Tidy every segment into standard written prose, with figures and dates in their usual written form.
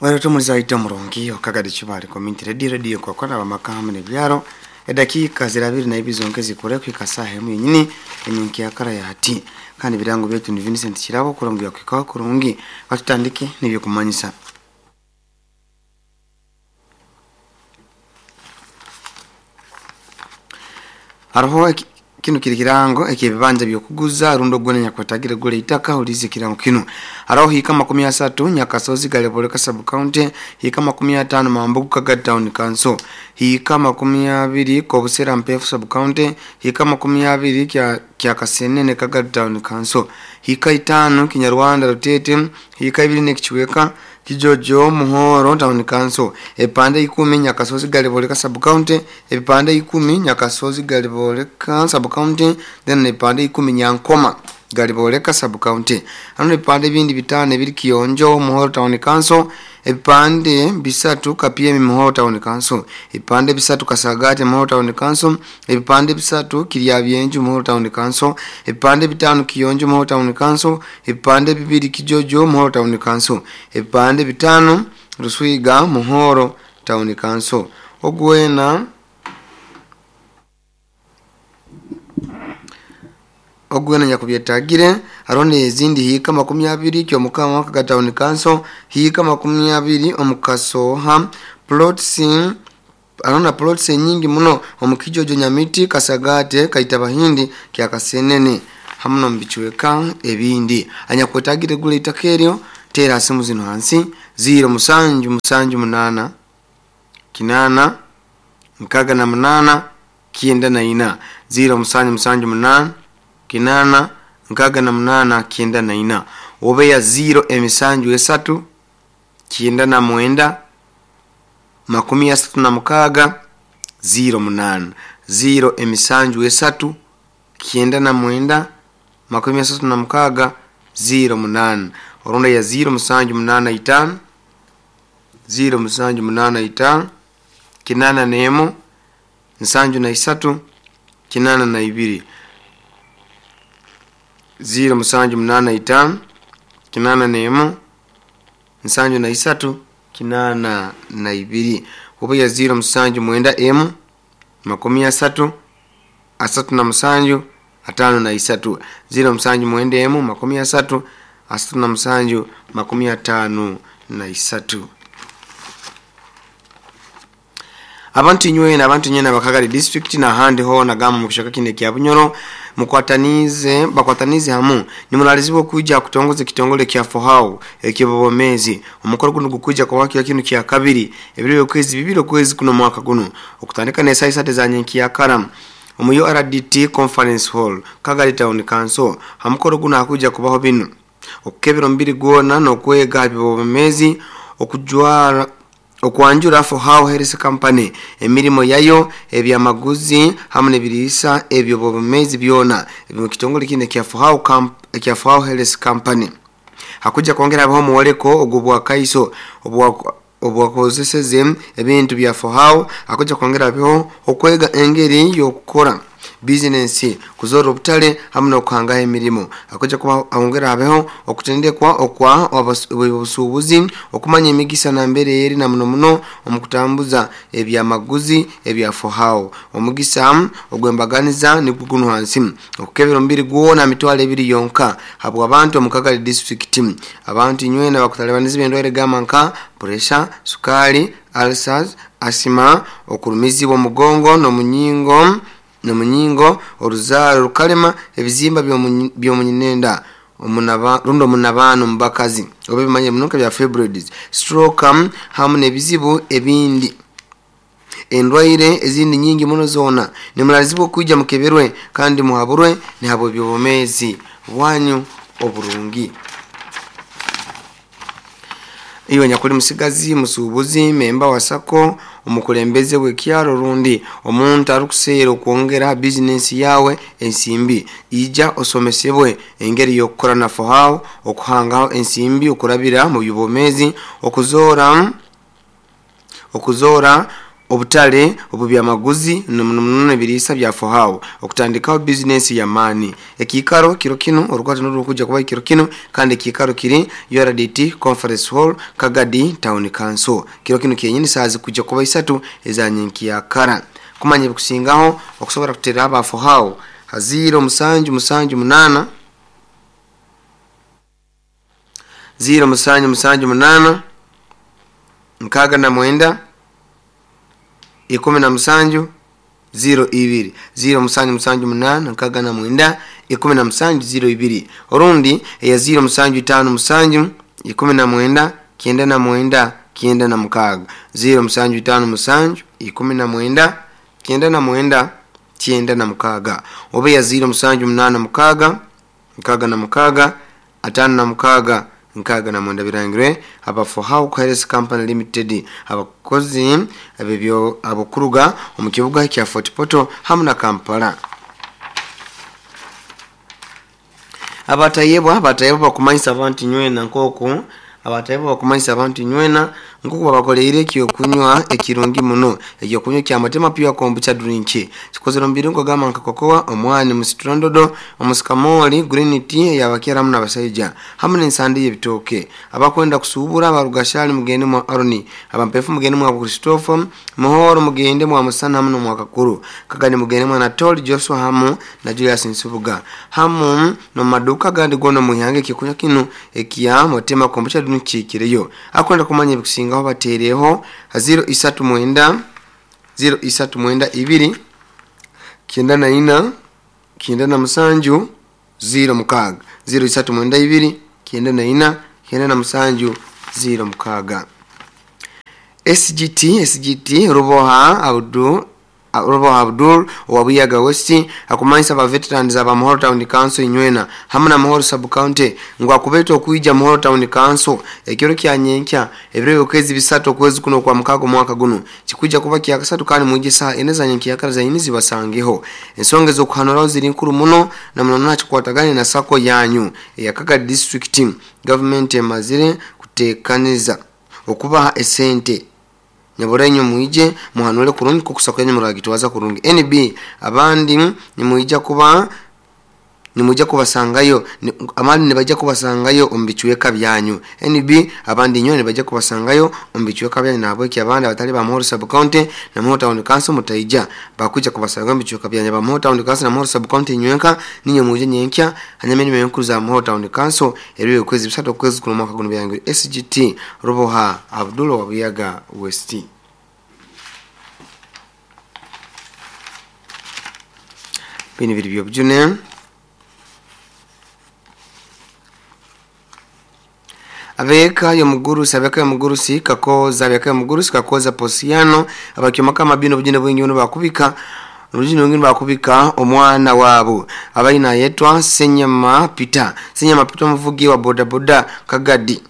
Wera ita murungi okagadi chibali community radio radio kwa kwana bamaka hamwe nebyaro edakika zirabiri na ibizo nkezi kure kwika saha emu yenyini enyinki yakara ya hati kandi birango byetu ni Vincent Kirabo kurungi yakwika kurungi batutandike nibyo kumanyisa. Hariho kino kiri kirango ekibanja byokuguza rundo gwene nyakwetagire gule itaka ulize kirango kino. Hariho hika 30 Nyakasozi Galeboleka sub county, hika 50 Mambugu Kaga town council, hika 20 Kobusera Mpefu sub county, hika 20 kya Kasenene Kaga town council, hika 5 Kinyarwanda Rutete, hika 2 Nekichweka Kijojo Muhoro town council, epande 10 Nyakasozi Galeboleka sub county, epande 10 Nyakasozi Galeboleka sub county, then epande 10 Nyankoma Galiboleka sub county. Hano epande bindi bitano ebiri Kionjo Muhoro town council, epande 3 Kapiemi Muhoro town council, epande 3 Kasagate Muhoro town council, epande 3 Kiryabyenju Muhoro town council, epande 5 Kionjo Muhoro town council, epande 2 Kijojo Muhoro town council, epande 5 Ruswiga Muhoro town council. Ogwena ogwena nyakubyetagire arone ezindi hika 20 kyo mukama Kaga town council, hika 20 omukasoha plots, arona plots nyingi muno omukijojo Nyamiti Kasagate Kaitabahindi kya Kasenene hamuno mbichweka ebindi. Anyakwetagire gule itakeryo tera simu zino hansi 0 7 7 8 9 6 8 94 0 7 7 8 9 6 8 94 obeya 0 emisanju 3 99 36 08 0 emisanju 3 99 36 08 oronda ya 0 7 8 5 0 7 8 5 81 73 82 0 7 8 5 81 73 82 oba ya 0 7 9 m 30 37 53 0 7 9 m 30 37 53. Abantu nywena abantu nyena bakagari district na handi ho na gama mukishaka kine kya Bunyoro mukwatanize bakwatanize hamu nimulalizibwa kuja kutongoza kitongole kya Fohau ekibobomezi omukoro guno gukuja kwa waki kino kya kabiri ebiro kwezi bibiro kwezi kuno mwaka guno okutandika ne saisate za nyenki ya karam omuyo RDT conference hall Kagari town council. Hamukoro guno akuja kubaho bino okukebero mbiri gona no kwega bibobomezi okujwara okwanjura Fohau Health Company emirimo yayo ebyamaguzi hamwe nebirisa ebyo bobomezi byona ebyo kitongole kine kya Fohau Camp kya Fohau Health Company. Hakuja kwongera abaho muwoleko ogubwa kaiso obwakozeseze ebintu bya Fohau. Hakuja kwongera abaho okwega engeri yokukora business kuzora obutale hamwe nokuhangaho emirimo. Hakuja kuba ongera abeho okutendekwa okwa obusuubuzi okumanya emigisa na mbere eri na muno muno omukutambuza ebyamaguzi ebya Fohau. Omugisa ogwembaganiza niguguno hansi okukebera omubiri gwona mitwalo ebiri yonka habwa abantu omu Kagali district. Abantu nywena bakutalabaniza endwaire gamba nka pressure, sukari, ulcers, asima, okurumizibwa omugongo n'omunyingo nomunyingo oruzaro rukalema ebizimba byomunyinenda omunaba rundo munabano mbakazi obe bimanye munonka bya fibroids, stroke hamu nebizibu ebindi endwaire ezindi nyingi muno zona. Nimulalizibwa kuja mukeberwe kandi muhaburwe ni habo byobomezi bwanyu oburungi. Iwe nyakuli musigazi musubuzi memba wasako omukulembeze w'ekyaro rundi omuntu arukuseera okwongera business yawe ensimbi ija osomesebwe engeri y'okukora na Fohau okuhangaho ensimbi okurabira mu bibomezi okuzora Obutare obw'ebyamaguzi na muno muno ebiriisa bya Fohao okutandikaho bizinensi y'amaani. Ekiikaro kiro kinu Orukwata nirurikujja kubaho ekiro kinu kandi ekiikaro kiri URDT Conference Hall, Kagadi Town Council. Kiro kinu kyenyini saaha zikujja kuba isatu eza nyenkyakara. Kumanya ebikusingaho okusobora kuteerera aba Fohao ha ziiro musanju musanju munaana, ziiro musanju musanju munaana, 69, 17, 02. Ziiro musanju musanju munaana, 69, 17, 02. Orundi eya ziiro musanju itaano musanju, 19, 99, 96. Ziiro musanju itaano musanju, 19, 99, 96. Oba eya ziiro musanju munaana mukaaga, 66, 56, 69 birangirwe aba Fohow Health Company Limited abakozi ab'ebyo abokuruga omu kibuga kya Fort Portal hamu na Kampala. Abatayebwa Abatayebwa bakumanyisa abantu inywena nk'oku Abatayebwa bakumanyisa abantu inywena nk'oku babakoleire ekyokunywa ekirungi muno. Ekyokunywa kya Mutema Pure Kombucha Drink kikozere omu birungo gamba nka kokoa, omwani, musitrondodo, omusikamooli, green tea ey'abakyara hamu n'abasaija hamu n'ensande y'ebitooke. Abakwenda kusuubura ba Rugashali mugende mwa Aroni, Abampefu mugende mwa Christopher, Muhoro mugende mwa Musana hamu n'omwa Kakuru, Kagani mugende mwa Anatoli Joshua hamu na Julius Nsubuga hamu n'omu maduuka agandi goona omu ihanga ekyokunywa kinu ekya Mutema Kombucha Drink kihikireyo. Akwenda kumanya ebikusingaho bateereho ha ziiro isatu mwenda, ziiro isatu mwenda ibiri, 94, 97, 06. Ziiro isatu mwenda ibiri, 94, 97, 06. SGT SGT Ruboha Abdul Ruboha Abdul owa Buyaga West akumanyisa aba veterans aba Muhoro Town Council inywena hamu na Muhoro Sub County ngu akubeeta okwija Muhoro Town Council ekiro kya nyenkya ebiro by'okwezi bisatu okwezi kuno okwa mukaaga omwaka gunu kikwija kuba kyakasatu kandi mwije saaha ina za nyenkyakara zanyini zibasangeho. Ensonga ez'okuhanuraho ziri nkuru muno na muno muno hakikwatagane na sacco yanyu eya Kagadi District. Gavumenti emazire kuteekaniza okubaha esente. Nyabura inywe mwije muhanure kurungi nk'oku sacco yanyu muragitwaza kurungi. NB, Abandi nimwija kuba nimwija kubasangayo abandi nibaija kubasangayo omu bicweka byanyu. NB, Abandi inywe nibaija kubasangayo omu bicweka byanyu nahabweki abandi abatali ba Muhoro Sub County na Muhoro Town Council mutaija. Bakwija kubasangayo omu bicweka byanyu. Aba Muhoro Town Council na Muhoro Sub County inywenka niinywe mwije nyenkya hanyuma emirimo enkuru za Muhoro Town Council ebiro by'okwezi bisatu okwezi kuno omwaka gunu byangire SGT Ruboha Abdul owa Buyaga West. Binu biri by'obujune. Ab'eka y'omugurusi Ab'eka y'omugurusi Kakooza Ab'eka y'omugurusi Kakooza Posiano abakyomaka amabini obujune bwingi muno bakubika obujune bwingi bakubika omwana waabo abaine nayetwa Ssenyama Peter Ssenyama Peter omuvugi wa bodaboda Kagadi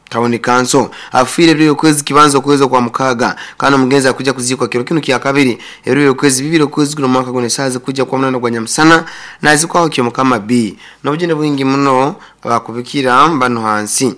Town Council afiire ebiro by'okwezi kibanza okwezi okwa mukaaga kandi omugenzi akwija kuziikwa kiro kinu kyakabiri ebiro by'okwezi bibiri okwezi kuno omwaka guno esaaha zikwijja kuba munaana gwa nyamusana nazikwaho Kyomukama B n'obujune bwingi muno abakubikira banu hansi.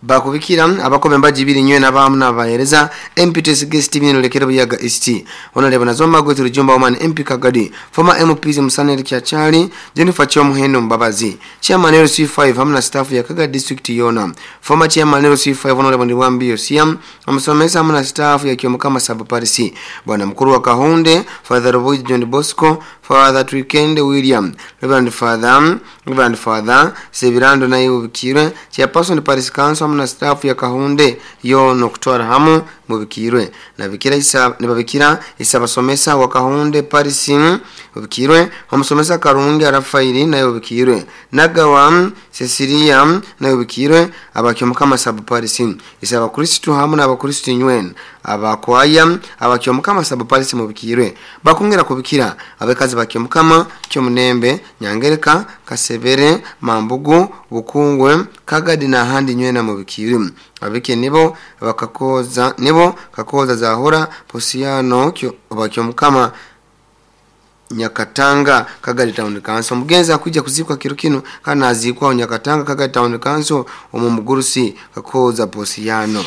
Bakubikira abakoba embaji ibiri nywena abahamu n'abahereza MP Twesige Steven Olekere Buyaga East, Honourable Nazoma Margaret Rujumba Woman MP Kagadi, former MPs Musana Eric Kyachali, Jennifer Kyomuhendo Mbabazi, Chairman LC5 hamu na staff ya Kagadi District yoona, former Chairman LC5 Honourable Ndiwambi Yosia, omusomesa hamu na staff ya Kyomukama Sub Parish, Bwana Mukuru wa Kahunde, Father Rubugi John Bosco, Father Twikende William, Reverend Father, Reverend Father Sebirando naye Bubikirwe, Chairperson Parish Council hamu na staff ya Kahunde yoona okutwara hamu Mubikirwe. Nabikira isa, nibabikira Isabasomesa wa Kahunde Parish Bubikirwe, Omusomesa Karungi Rafairi naye Bubikirwe, Nagawa Cecilia naye Bubikirwe, Abakyomukama Sub Parish, Isabakristu hamu n'Abakristu inywena, Abakwaya, Abakyomukama Sub Parish Mubikirwe. Bakongera kubikira abakazi ba Kyomukama, Kyomunembe, Nyangereka, Kasebere, Mambugu, Bukungwe, Kagadi n'ahandi nywena Mubikirwe. Abike nibo bakakoza nibo Kakooza Zahura Posiano Kyo, Bakyomukama Nyakatanga Kagadi Town Council. Omugenzi akwija kuziikwa kiro kinu kandi naziikwaho Nyakatanga Kagadi Town Council omu mugurusi Kakooza Posiano.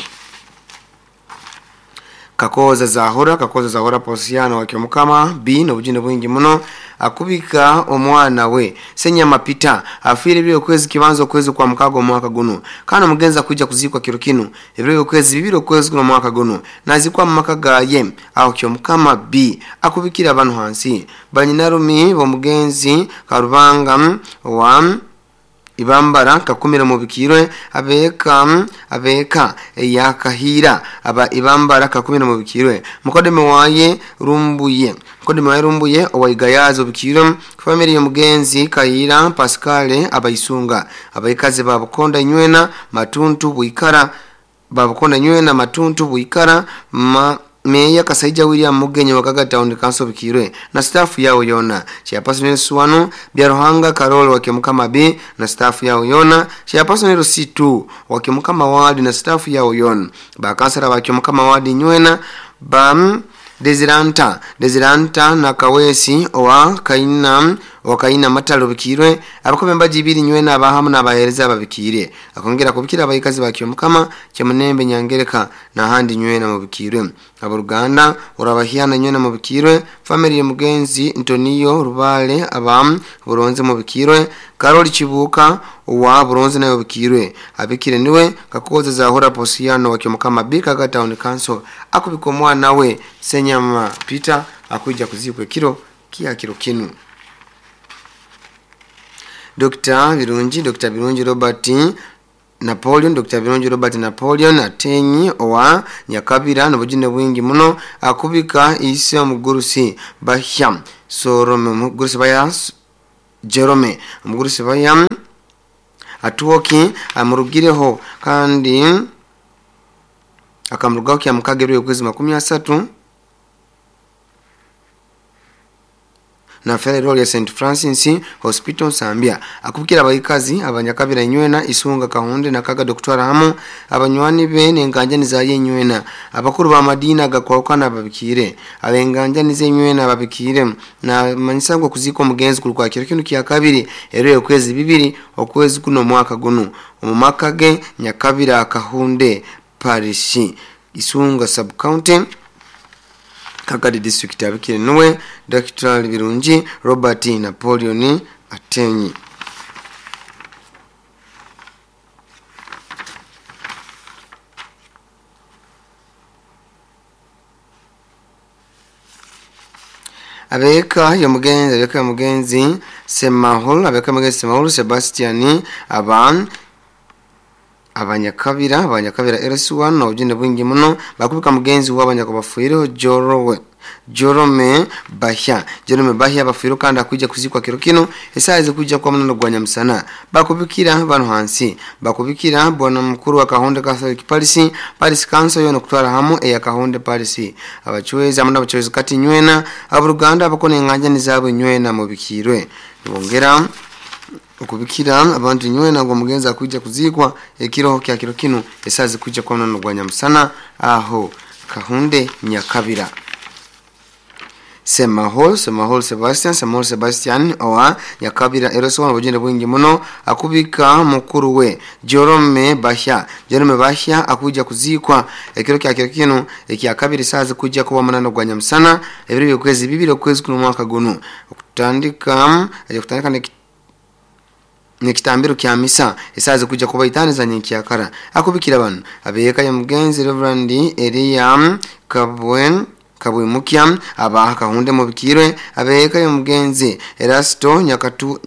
Kakooza Zahura, Kakooza Zahura Posiano wa Kyomukama B n'obujune bwingi muno akubika omwana we Senyama Peter afiire ebiro okwezi kibanza okwezi kwa mukaga omwaka guno. Kandi omugenzi akwija kuziikwa kiro kinu ebiro okwezi bibiri okwezi kuno omwaka guno, nazikwa mu maka gaye aho Kyomukama B akubikira abantu hansi. Banyinarumi b'omugenzi Karubanga wa Ibambara Kakumira mubikirwe, abeeka abeeka eyakahira aba Ibambara Kakumira mubikirwe, mukodeme waye Rumbuye, mukodeme waye Rumbuye owaigayazo bikirwe, family y'omugenzi Kahira Pascal abaisunga, abaikazi ba Bukonda Nywena Matuntu Bwikara, Babukonda Nywena Matuntu Bwikara, Meya Kasaija William Mugenyi wa Kaga Town Council bikirwe na staff yao yona. Chairperson Suwanu Byaruhanga Karol wa Kyomukama B na staff yao yona. Chairperson C2 wa Kyomukama Ward na staff yao yona. Bakansala wa Kyomukama Ward Nywena ba Desiranta Desiranta na Kawesi owa Kaina wa Kaina Matalo bikirwe, abakobe mbaji ibiri Nywena abahamu n'abahereza babikire. Akongera kubikira abayikazi ba Kyomukama Kyamunembe Nyangereka na handi Nywena mubikirwe. Aboruganda orabahiana Nywena mubikirwe, family ya mugenzi Antonio Rubale abam Buronze mubikirwe, Karoli Chibuka wa Buronze nayo bikirwe. Abikire niwe Kakoza Zahura Posiano wa Kyomukama B Kaga Town Council akubika omwana we Senyama Peter akuja kuzikwa kiro kia kiro kinu. Dr. Birungi, Dr. Birungi Robert Napoleon, Dr. Birungi Robert Napoleon atenyi owa Nyakabira n'obujune bwingi muno akubika ise omugurusi Bahya Sorome, omugurusi Bahya Jerome, omugurusi Bahya Atuoki amurugireho kandi akamurugaho kya mukaga ebiro okwezi 30 na Federal ya St. Francis Hospital Nsambya. Akubikira abayikazi abanyakabira Nywena Isunga Kahunde na Kaga Dr. Hamu abanywani be n'enganjani za Nywena, abakuru ba madina gakwakana babikire, abenganjani ze Nywena babikire na manyisa ngo kuziko omugenzi kulwa kiro kinu kya kabiri ero okwezi bibiri okwezi kuno mwaka guno omu maka ge Nyakabira Kahunde Parish Isunga Sub County Kagadi District. Abikire niwe Dr. Birungi Robert Napoleon Atenyi. Abeka ya mugenzi, abeka ya mugenzi Semahol, abeka ya mugenzi Semahol Sebastian aban abanyakabira, abanyakabira LS1 na ujinde bwingi muno bakubika mugenzi w'abanyakubafuireho Jorowe Jerome Bahya, Jerome Bahya bafuiro kandi akuja kuzikwa kiro kino esaza kuja kwa munono gwa Nyamusana. Bakubikira bano hansi, bakubikira bwana mukuru wa Kahonde Catholic Parish, Parish Council yono kutwara hamu eya Kahonde Parish. Abachwezi amuna abachwezi kati Nywena aburuganda abakone enganja nizabo Nywena mubikirwe. Nibongera okubikira abantu Nywena ngo mugenzi akuja kuzikwa ekiro kya kiro kino esaza kuja kwa munono gwa Nyamusana aho Kahunde Nyakabira. Semahol, Semahol Sebastian, Semahol Sebastian owa Nyakabira Eroso obujinde bwingi muno akubika mukuru we Jerome Bahya, Jerome Bahya akuja kuzikwa ekiro kya kiro kino ekya kabiri saza kuja kuba munano gwa Nyamusana ebiro by'okwezi bibiri okwezi kuno mwaka guno okutandika aje kutandika nekitambiro kya misa esaze kuja kuba itani za nyenkyakara. Akubikira bano abeka ya mugenzi Reverend Elia Kabwen Kabwimukya abaha Kahunde mubikirwe, abeka ya mugenzi Erasto Nyakatu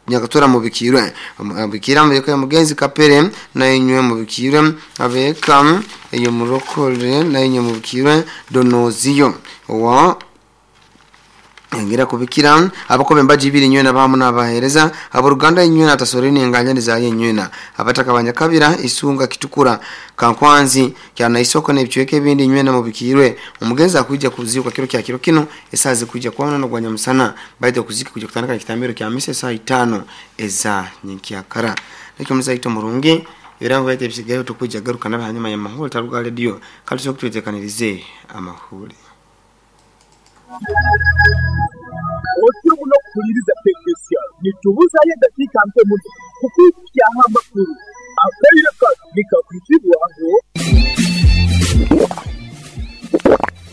Nyakatura mubikirwe, abikira mubika ya mugenzi Kapere na inywe mubikirwe, abeka eyo murokore na inywe mubikirwe Donozio wa ngira kubikira abakobe mbaji ibiri Nywena bahamu n'abahereza aboruganda Nywena tasoreni enganja za Nywena abataka abanyakabira Isunga Kitukura Kankwanzi kyana isoko n'ebicweke ebindi Nywena mubikirwe. Omugenzi akuja kuzikwa kiro kya kiro kino esaze kuja kwa no gwa Nyamusana baite kuzika kuja kutandika kitambiro kya misa saa 5 eza nyenkyakara. Nikyo muzaito murungi ebirango baite bisigayo tukuja garuka nabahanyuma ya mahuri taruga radio kandi so kutwetekanirize amahuri. Otyo muno kuhuliriza Tegesia. Nitubuzayo edakiika nke muno kukwikukyaho amakuru. Akaire kanu nikakwizibwaho.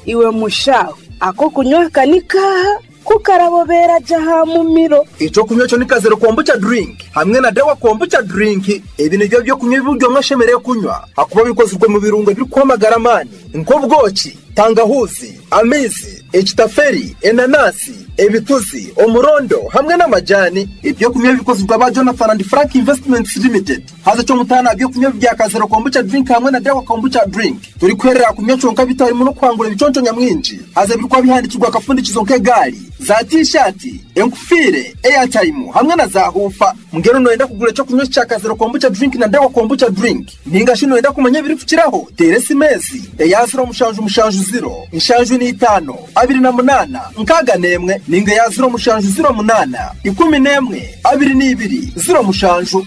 Iwe mushaho, ak'okunywa aka ni kaaha? Ku karabobeera gye aha mumiro. Eky'okunywa ekyo ni Kazero Kombucha Drink hamwe na Dawa Kombucha Drink. Ebi nibyo by'okunywa ebi buri omwe ashemereire kunywa ahakuba bikozirwe omu birungo ebirikuha amagara amaani nk'obwoki, tangahuuzi, amaizi, ekitaferi, enanasi, ebituzi, omurondo hamwe n'amajaani. Eby'okunywa ebi bikozirwe aba Jonathan and Frank Investments Limited. Haza eky'omutaano aha by'okunywa ebi bya Kazero Kombucha Drink hamwe na Dawa Kombucha Drink, torikuherera aha kunywa kyonka beitu harimu n'okuhangura ebiconco nyamwingi. Haza ebirikuba bihandiikirwe aha kafundikizo nk'egaari, za tiishaati, enkufiire, eyataimu hamwe na zaahuufa. Mbwenu nooyenda kugura eky'okunywa eki kya Kazero Kombucha Drink na Dawa Kombucha Drink? Nainga shi nooyenda kumanya ebirikukiraho? Teera esimu ezi, eya ziro mushanju mushanju ziro, nshanju n'eitaano, 28, 61 nainga eya ziro mushanju ziro munaana, 11, 22, 07.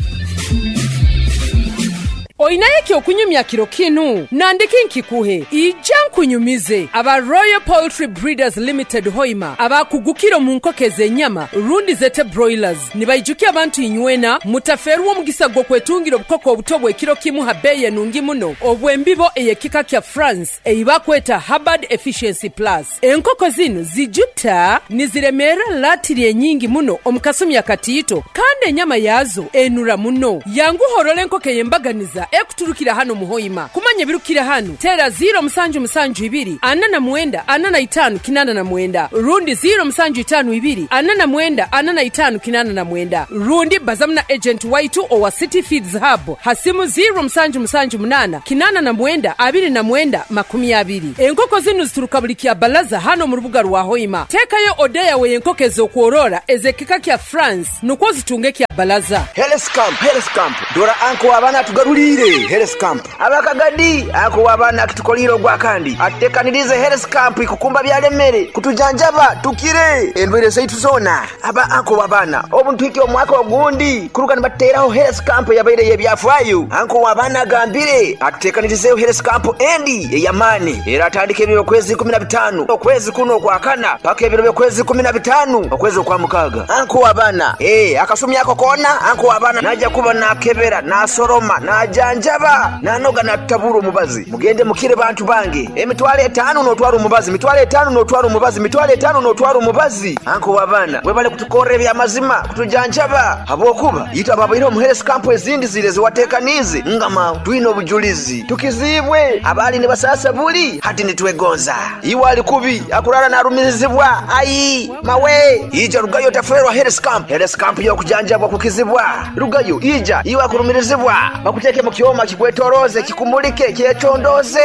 Oinayo eky'okunyumya kiro kinu? Nandiki nkikuhe? Ija nkunyumize. Aba Royal Poultry Breeders Limited Hoima abakugukire omu nkoko ez'enyama rundi zete broilers nibaijukya abantu inywena mutafeerwa omugisa gw'okwetungira obukoko obuto obw'ekiro kimu ha beeyi enungi muno obw'embibo ey'ekika kya France ei bakweta Hubbard Efficiency Plus. Enkoko zinu zijuta niziremeera latiri enyingi muno omu kasumi akatiito kandi enyama yaazo enura muno. Yanguha orole enkoko ey'embaganiza ekuturukira hanu omu Hoima. Kumanya ebirukukira hanu, teera ziiro musanju musanju ibiri ana na mwenda ana na itaanu kinaana na mwenda rundi ziiro musanju itaanu ibiri ana na mwenda ana na itaanu kinaana na mwenda rundi bazamu na ejenti waitu owa City Feeds Hub ha simu ziiro musanju musanju munaana 89 29 20. Enkoko zinu zituruka buli Kyabalaza hanu omu rubuga rwa Hoima. Teekayo oda yawe ey'enkoko ez'okworora ez'ekika kya France nukwo ozitunge Kyabalaza. Health Camp, Health Camp, Dora anko w'abaana atugaruliire Health Camp. Abakagadi, anko w'abaana akitukoliire ogwakandi atutekaniriize Health Camp ikukumba byalemere kutujanjaba tukire endwaire zaitu zoona. Aba anko w'abaana obu nituhikya omwaka ogundi kuruga nibatuteraho Health Camp eyabaire ey'ebyafaayo. Anko w'abaana agambire atutekanirizeho Health Camp endi ey'amaani eratandika ebiro by'okwezi 15 okwezi kunu okwakana paka ebiro by'okwezi 15 okwezi okwamukaaga. Anko w'abaana, Ee, akasumi ako koona anko w'abaana naija kuba naakebera, naasoroma, naajanjaba, naanoga naatutabura omubazi. Mugende mukire bantu bange. Emitwalo etaanu n'otwara omubazi, mitwalo etaanu n'otwara omubazi, mitwalo etaanu n'otwara omubazi. Anko w'abaana, webale kutukorra eby'amazima, kutujanjaba, habwokuba itwe ababaireho omu health camp ezindi ziri ezi wateekaniize, ngama twine obujulizi. Tukiziibwe abaali nibasaasa buli, hati nitwegonza. Iwe ali kubi, akuraara naarumirizibwa, ai mawe! Ija rugayo otafeerwa health camp. Health camp y'okujanjabwa kukizibwa. Rugayo, ija, iwe akurumirizibwa, bakuteeke mu kyoma kikwetolooze, kikumulike, kyecondooze.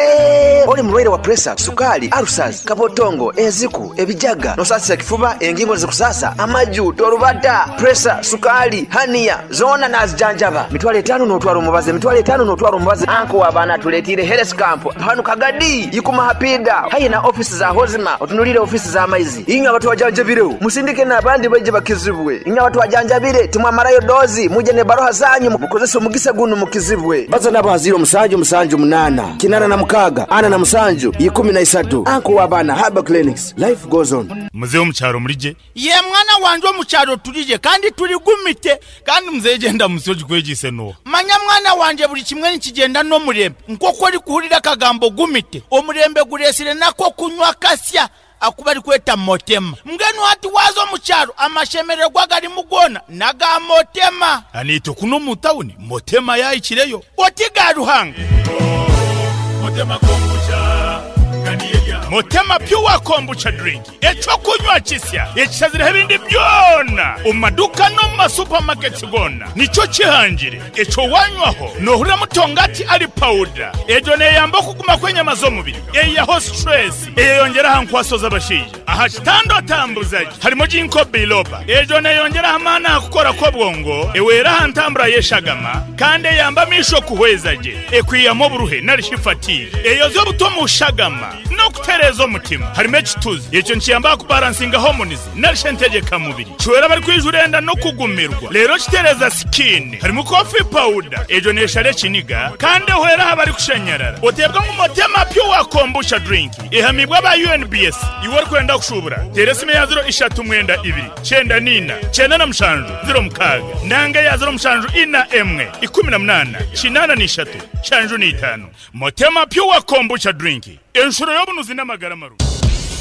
Oli mulwaire wa puresa, sukaali, alusazi, kabotongo, enziku, ebijaga, n'osaasisa ekifuba, engingo nizikusaasa, amaju, torubata, puresa, sukaali, haniya, zoona naazijanjaba. Mitwalo etaanu n'otwara omubazi, emitwalo etaanu n'otwara omubazi. Anko w'abaana atuleetiire Health Camp hanu Kagadi, Ikuma ha piida, haihi na ofiisi za Hozima, otunuliire ofiisi z'amaizi. Inywe abatwajanjabireho, musindike n'abandi baije bakizibwe. Inywe abatwajanjabire, timwamarayo doozi, mwije n'ebaruha zanyu mukozese omugisa gunu mukizibwe. Baza nabo ha ziiro musanju musanju munaana, kinaana na mukaaga, ana na musanju, ikumi na isatu. Anko w'abaana Herbal Clinics, Life goes on. Mzee omu kyaro muri gye? Yee mwana wangye omu kyaro turi gye kandi turi gumite. Kandi mzee egyo endamutsyo ogikwegyeise n'oha? Manya mwana wangye buri kimwe nikigyenda n'omurembe. Nk'oku orikuhurira akagambo gumite, omurembe gureetsire n'ak'okunywa kasya aku barikweta Motema. Mbwenu hati waaza omu kyaro amashemererwa agarimu goona n'aga Motema. Naitwe kunu omu tawuni Motema yaahikireyo. Oti ga Ruhanga. Motema Pure Kombucha Drink, eky'okunywa kisya ekishazireho ebindi byona omu maduuka n'omu ma supermarkets goona nikyo kihangire. Ekyo wanywaho nohurira mutongati ali pawuda. Egyo neyamba okuguma kw'enyama z'omubiri, eihaho stress, eyeyongyera aha nkwaso z'abashaija. Aha kitanda otambuza gye harimu Ginkgo biloba. Egyo neyongyera aha maani aha kukora kw'obwongo, ewera aha ntambura y'eshagama kandi eyamba amaisho kuhweza gye, ekwihamu oburuhe nari shi fatigue. Eyozya obuto omu shagama n'okutereeza. Kitereeza omutima. Harimu ekituzi. Ekyo nikiyamba aha kubaransinga hormones nari shi entegyekamubiri. Kihwera abarikwijura enda n'okugumirwa. Reero kitereeza skin. Harimu coffee powder. Egyo neeshara ekiniga kandi ehwera aha barikushanyarara. Oteebwa ngu Motema Pure Kombucha Drink ehamiibwe aba UNBS. Iwe orikwenda kushuubura, teera esimu eya ziro ishatu mwenda ibiri, kyenda n'ina, 97, 06 nanga eya ziro mushanju ina emwe, 18, 83, 75. Motema Pure Kombucha Drink, enshuro y'obunuzi n'amagara marungi.